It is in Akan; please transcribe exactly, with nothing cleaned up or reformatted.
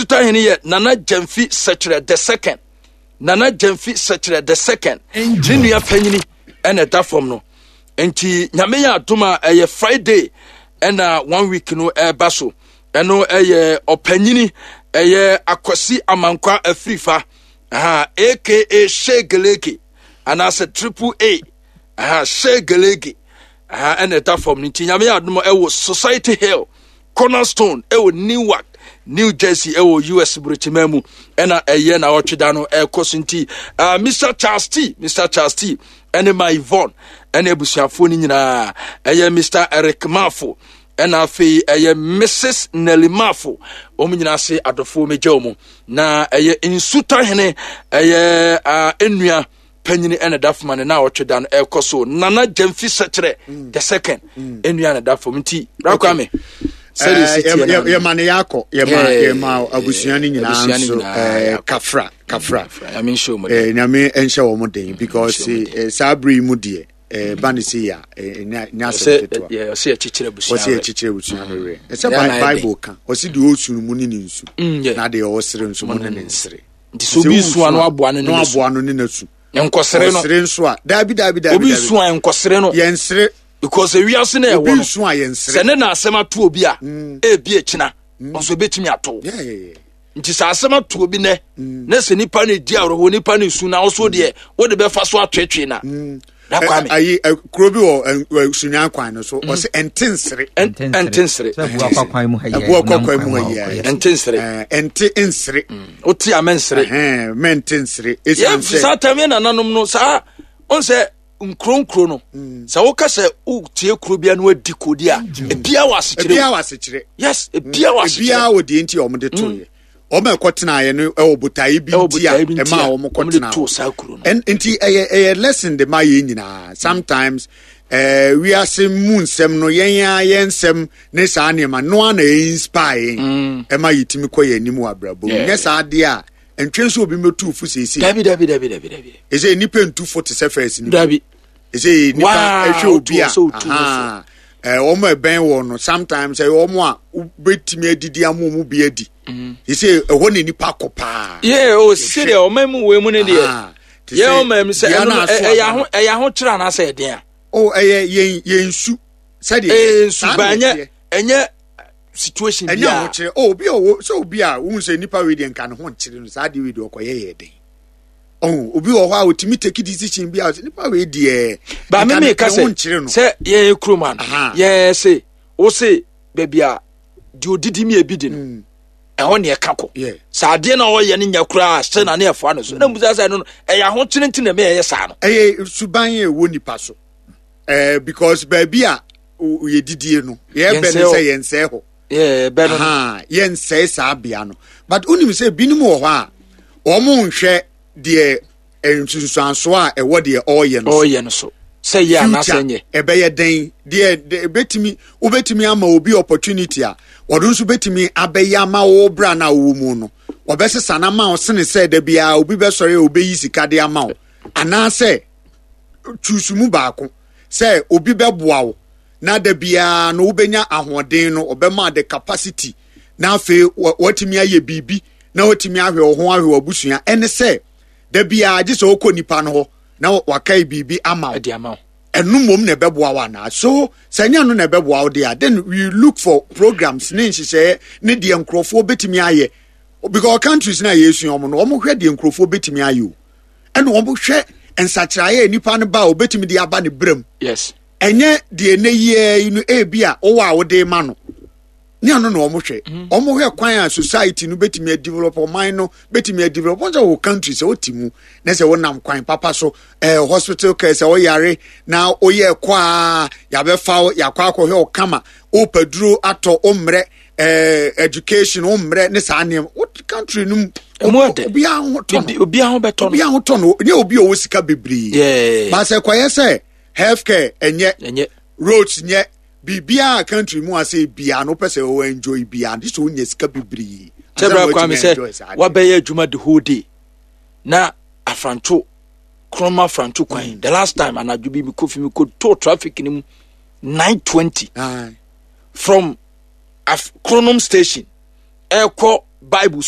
Nsutahene yɛ Nana Gyamfi Sɛkyerɛ the Second. Nana Gyamfi Sɛkyerɛ the Second ne nua panyini ɛna ɛda fam no. Nti Nyame yɛ adom a, ɛyɛ Friday ɛna one week no ɛreba so. Ɛno ɛyɛ ɔpanyini, ɛyɛ Akwasi Amankwa Afirifa, aha, aka Shegelege anaasɛ Triple A, aha, Shegelege, aha, ɛna ɛda fam no. Nti Nyame yɛ adom, ɛwɔ Society Hill Cornerstone, ɛwɔ Newark, New Jersey, ɛwɔ U S burokyima mu, ɛna ɛyɛ na ɔtwe da no ɛkɔ so. Nti uh, Mister Charles T, Mister Charles T ɛne ma Yvonne ɛne abusuafoɔ no nyinaa, ɛyɛ Mister Eric Mafo, ɛna afei ɛyɛ Missus Nelly Mafo, wɔn nyinaa se adɔfoɔ megya wɔn. Na ɛyɛ Nsutahene, ɛyɛ uh, nnua panyini ɛna da fam ne na ɔtwe da no ɛkɔ so, Nana Gyamfi Sɛkyerɛ the Second nnua na da fam. Nti Rakwame, sɛdeɛ Eh, ɛsi teɛ no. Yɛma ne yɛakɔ, yɛma Eh, yɛma abusua no nyinaa abusua no nso nyinaa eh, yɛakɔ. Kafra kafra. Nyame nhyɛ wɔn den. Eh, Nyame nhyɛ wɔn den because nhyɛ wɔn eh, saa bere yi mu deɛ, eh, ba ne se yɛ a eh, nyɛ nyɛ asɛm ɔsɛ ketewa. Yɛ ɔsɛ yɛkyekyere abusua Ɔsɛ werɛ. yɛkyekyere abusua no werɛ. Ɛsɛ Yɛn na Bi- ayɛ bible ka, ɔsɛ deɛ ɔsu no mu ne ne nsu Mm, yeah. na deɛ ɔsere nso mu ne ne nsere. Nti sɛ obi su a, na waboa no ne na ne su. waboa no ne n'asu. Nkɔsere no. Ɔsere nso a, daabi, daabi, daabi. Obi Daabi. su a, nkɔsere no. Yɛnsere. Because ewiase na ɛwɔ Obi no nsu a, yɛnsere. Sɛ ne na asɛm ato obi a, ebi ekyina nso ebetumi ato. Yeah, yeah, yeah. Nti sɛ asɛm ato obi nɛ na sɛ nipa no di awerɛhoɔ, nipa no su, na ɔso deɛ wode bɛfa so atwetwe na na Kwame. Ɛ- ayi ɛ, kuro bi wɔ ɛ, ɛ, Sunyan kwan no so, ɔsɛ ɛnte nsere. ɛn- ɛnte nsere. Sɛ ɛboa kɔ kwan mu ha yi. Ɛboa kɔ nam kwan mu ha mu yi. a, ɔkɔyɛ. Ɛnte nsere. Ɛ, ɛnte nsere. Wote a, mɛnsere. Ɛhɛn, mɛnte nsere ɛsiane Yɛmfi saa sɛ tam yɛ nananom no saa ɔn sɛ nkuro nkuro no, sɛ woka sɛ wotie kuro bia na wadi kodi a, ebia wɔ asekyerɛ ebia mu. wɔ asekyerɛ. Yes, ebia wɔ asekyerɛ. Ebia wɔ deɛ nti a wɔde to yɛ, wɔn a ɛkɔtenaeɛ no ɛwɔ botaeɛ bi Ɛwɔ nti a botaeɛ bi nti ɛma a a wɔn wɔde kɔtena too hɔ. saa kuro no. Ɛn- nti ɛyɛ ɛyɛ lesson de ma yɛn nyinaa. Sometimes ɛɛ wiase mu nsɛm no, yɛn a yɛn nsɛm ne saa nneɛma no a na ɛyɛ inspire yɛn, ɛma yɛtumi kɔ yɛn anim wɔ abrabɔ mu. Yeah. Nyɛ saa adeɛ a ntwe nso obi mɛtu fo seesei. Dabi, dabi, dabi, dabi, dabi. Ɛsɛ nipa ntu fo te sɛ first nipa. Dabi. Ɛsɛ nipa Waa, ɛhwɛ obi a wotu wɔ sɛ wotu wo aha, ɛɛ wɔn a ɛbɛn wɔn no, sometimes ɛyɛ wɔn a wobɛtumi adidi ama wɔn bi adi. Ɛsɛ ɛhɔ na nipa kɔ paa. Yɛ o sɛdeɛ ɔman mu wei mu no deɛ, Ah, te yɛ sɛ ɔman mu sɛ dua ɛno no no, aso ɛ- ɛyɛ aba aho no. Ɛyɛ ahokyerɛ anaasɛ ɛden a? O, ɛyɛ yɛn yɛn su sɛdeɛ ɛyɛ saa nsuba na ɛnyɛ ɛteɛ. Ɛnyɛ situation Ɛnyɛ bi a ahokyerɛ o. Obi a ɔwɔ sɛ obi a wohu sɛ nipa wei deɛ, nka ne ho nkyerɛ no, saa deɛ wei deɛ ɔkɔyɛ yɛ den. Ɔho obi wɔ hɔ a otumi take decision bi a ɔsɛ nipa wei deɛ ba nka me ne meka ne ho sɛ nkyerɛ no. Sɛ yɛn kurom ano Aha. yɛn se wo se baabi a deɛ odidi mi ebi di no, ɛhɔ ne ɛka kɔ. Yeah. Sɛ adeɛ na ɔyɛ no nyɛ koraa sɛ na ne ɛfoa no so na mbusa sɛ no no ɛyɛ ahokyere nti na ɛmɛ ɛyɛ saa no. Ɛyɛ suban a ɛwɔ nipa so ɛɛ because baabi a o- yɛdidie no, yɛbɛ ne Yɛnsɛe hɔ. sɛ yɛnsɛe hɔ. Yɛ bɛ no no. Aha, yɛnsɛe saa bea no, but wonim sɛ binom wɔ hɔ a wɔn nhwɛ deɛ nsunsuansoɔ a ɛwɔ deɛ ɔreyɛ no so. Ɔyɛ no so sɛ yɛ anaasɛ nyɛ. Ɛbɛyɛ dɛn deɛ de- ɛbɛtumi wobɛtumi ama obi opportunity a ɔno nso bɛtumi abɛyɛ ama wo bra no a wowɔ mu no, ɔbɛsesa no ama wo sene sɛ da biara obi bɛsɔre a obɛyi sika de ama wo, anaasɛ choose mu baako sɛ obi bɛboa wo na da biara no wobɛnya ahoɔden no, ɔbɛma the capacity na afei wa- watumi ayɛ biribi na watumi ahwɛ wo ho, ahwɛ w'abusua, ɛne sɛ da biara gye sɛ wokɔ nipa no hɔ na wakae biribi ama wo. Ɛde ama wo. Ɛno mmom na ɛbɛboa wo anaa? So sɛ ɛnyɛ no na ɛbɛboa wo deɛ a, then we look for programs ne nhyehyɛeɛ ne deɛ nkurɔfoɔ bɛtumi ayɛ, because countries na yɛsua wɔn no, wɔn hwɛ deɛ nkurɔfoɔ bɛtumi ayɛ o, ɛna wɔn hwɛ nsakyerɛeɛ a nipa no ba a obɛtumi de aba ne brɛm. Yes ɛnyɛ deɛ ne yie yi no, ebi a wowɔ a wode ma no ne ano na wɔn hwɛ. Wɔn hwɛ kwan a society no bɛtumi adevelop, ɔman no bɛtumi adevelop. Wɔn sɛ wɔ country sɛ wote mu na sɛ wonam kwan papa so, ɛɛ hospital care, sɛ woyare na woyɛ kɔ a, yabɛfa wo, yakɔ akɔhwɛ wo kama, wopɛ duro atɔ, wo mmerɛ, ɛɛ education, wo mmerɛ ne saa nneɛma wo country no mu. Ɛmu ɛdɛ. Obiara ho tɔ no. Obiara ho bɛtɔ no. Obiara ho tɔ no, nye obi a ɔwɔ sika bebree. Yeah. Baasɛ kɔyɛ sɛ healthcare ɛnyɛ, ɛnyɛ, roads nyɛ, biribiara country mu ase biara no, wopɛ sɛ wɔwɔ enjoy biara no, sɛ wonya sika bebree sɛ ansa na bra woatumi Kwame enjoy sɛ saa adeɛ. wabɛyɛ adwuma the whole day na afranto krɔma afranto kwan. The last time anadwo bi mekɔ fi mekɔ to traffic no mu nine twenty Aye. from Af Kronom station ɛkɔ Bible.